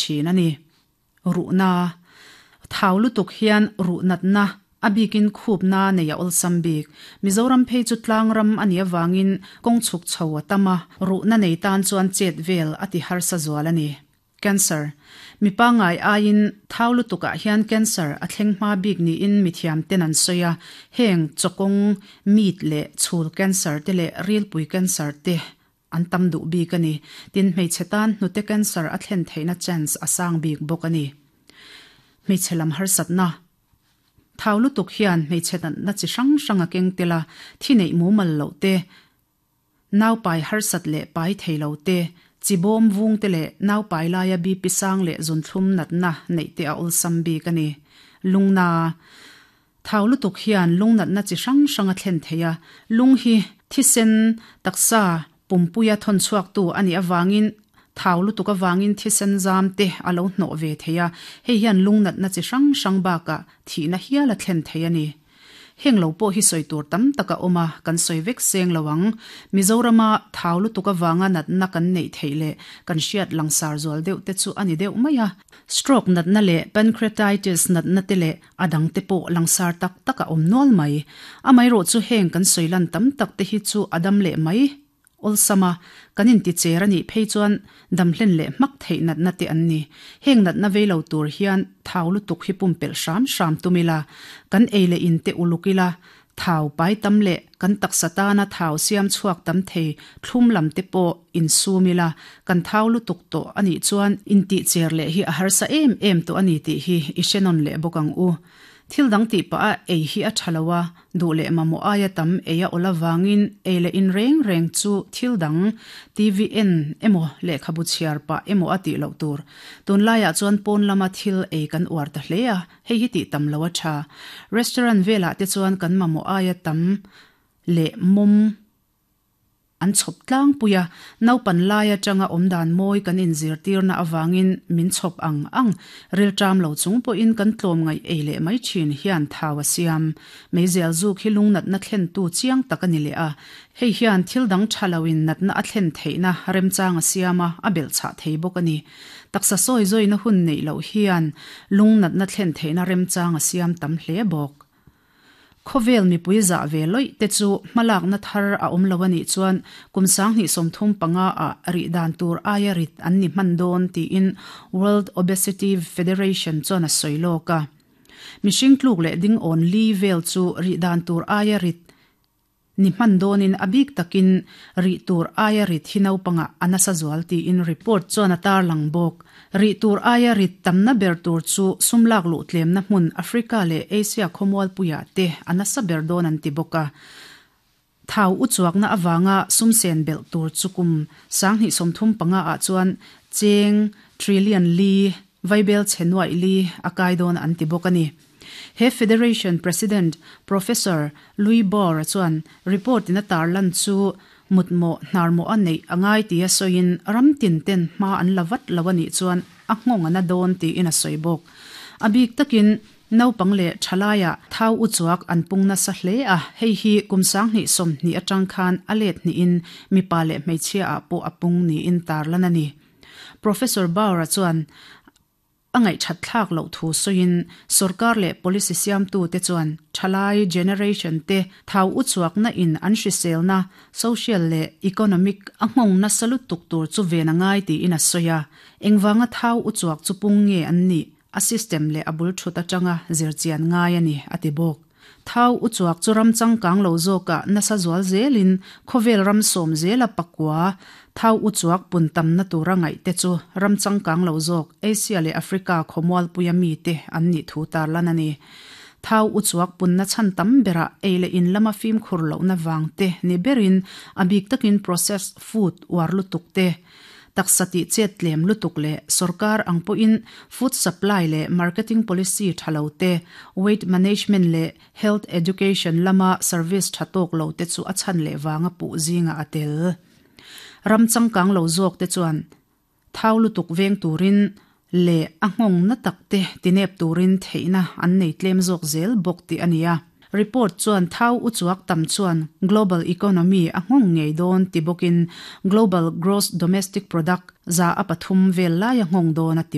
thin a ni. Ruhna, Thau lutuk hian ruh natna, a bikin khupna nei a awlsam bik. Mizoram phei chu tlang ram a nih avangin kawng chhuk chho a tam a, ruhna nei tan chuan chet vel a ti harsa zual a ni. Cancer, Mi pangngai aiin thau lutukah hian cancer a thleng hma bik niin mithiam ten an sawi a, heng chawkawng, meat leh chhul cancer te leh rilpui cancer te an tam duh bik a ni. Tin, hmeichhe tan hnute cancer a thlen theihna chance a sang bik bawk a ni. Hmeichhe lam harsatna, Thau lutuk hian hmeichhe natna chi hrang hrang a keng tel a, thi neih mumal loh te, Nau pai harsat leh pai thei lo te, chi bawm vung te leh nau pai laia BP sang leh zunthlum natna neih te a awlsam bik a ni. Lungna thau lutuk hian lung natna chi hrang hrang a thlen thei a, lung hi thisen taksa pumpuia thawn chhuaktu a nih avangin thau lutuk avangin thisen zam te a lo hnawh ve thei a, hei hian lung natna chi hrang hrang bakah thihna hial a thlen thei a ni. Heng lo pawh hi sawi tur tam tak a awm a, kan sawi vek seng lo ang. Mizorama thau lutuk avanga natna kan neih theih leh kan hriat langsar zual deuh te chu a ni deuh mai a. Stroke natna leh pancreatitis natna te leh a dang te pawh langsar tak tak a awm nual mai. Amaherawhchu heng kan sawi lan tam tak te hi chu a dam leh mai. Awlsam a, kan inticher a nih phei chuan damhlen leh hmak theih natna te an ni. Heng natna vei lo tur hian thau lutuk hi pumpelh hram hram tum ila, kan ei leh in te uluk ila, thau pai tam leh kan taksa tana thau siam chhuak tam thei thlum lam te pawh insum ila, kan thau lutuk tawh a nih chuan intihcher leh hi a harsa em em tawh a ni tih hi i hre nawn leh bawk ang u. Thil dang tih pah a ei hi a tha lo a, duh leh mamawh aia tam ei a awl avangin ei leh in reng reng chu thil dang, TV en emaw lehkhabu chhiar pah emaw a tih loh tur. Tunlaiah chuan pawn lama thil ei kan uar ta hle a, hei hi tih tam lo a tha. Restaurant velah te chuan kan mamawh aia tam leh mawm. An chhawp tlangpui a, naupan lai atanga awmdan mawi kan inzirtirna avangin min chhawp ang ang, rilṭam lo chung pawhin kan tlawmngaih ei leh mai ṭhin hian thau a siam. Meizial zuk hi lungnatna thlentu chiang tak a ni leh a, hei hian thil dang ṭha loin natna a thlen theihna remchang a siam a, a belhchhah thei bawk a ni. Taksa sawi zawina hun neih loh hian lungnatna thlen theihna remchang a siam tam hle bawk. Khawvel mipui zah ve lawih te chu hmalakna thar a awm lo a nih chuan kum 2035 ah rih dan tur aia rit an ni hman dawn tiin World Obesity Federation chuan a sawi lawk a. Mihring tluk leh ding awn li vel chu rih dan tur aia rit ni hman dawnin a bik takin rih tur aia rit hi naupangah a nasa zual tiin report chuan a tarlang bawk. Rih tur aia rit tamna ber tur chu sum lak luh tlemna hmun Africa leh Asia khawmualpuiah te a nasa ber dawn an ti bawk a. Thau u chuakna avanga sum sen belh tur chu kum 2035 ah chuan cheng trillion li vaibel chhe nuaih li a kai dawn an ti bawk a ni. He Federation President Professor Louis Bauer chuan report in a tarlan chu mutmawh hnarmawh a neih a ngai tia sawiin ram tin ten hma an la vat lo a nih chuan a nghawng a na dawn tiin a sawi bawk. A bik takin naupang leh thalaiah thau u chuak an pung nasa hle a, hei hi kum 2020 atang khan a let hnihin mipa leh hmeichhia ah pawh a pung niin tarlan a ni. Professor Bauer chuan A ngaihthat thlak loh thu sawiin sorkar leh policy siamtute chuan thalai generation te thau u chhuakna in an hriselna, social leh economic a nghawng nasa lutuk tur chu ven a ngai tiin a sawi a. Engvanga thau u chhuak chu pung nge an nih a system leh a bul thut atanga zirchian ngai a ni, a ti bawk. Thau u chuak chu ram changkang lo zawkah nasa zual zelin khawvel ram sawm zela pakua thau u chuak pun tamna tura ngaih te chu ram changkang lo zawk Asia leh Africa khawmualpuia mite an nih thu tarlan a ni. Thau u chuak punna chhan tam berah ei leh in lama fimkhur lohna vang te ni berin a bik takin processed food uar lutuk te Taksa tih chet tlem lutuk leh sorkar ang pawhin food supply leh marketing policy tha lo te, weight management leh health education lama service tha tawk lo te chu a chhan leh vanga puh zingah a tel. Ram changkang lo zawk te chuan thau lutuk veng turin leh a nghawng na tak te tinep turin theihna an nei tlem zawk zel bawk tih a ni a. Report chuan thau u chuak tam chuan global economy a nghawng ngei dawn ti bawkin global gross domestic product 3% vel lai a nghawng dawn a ti bawk.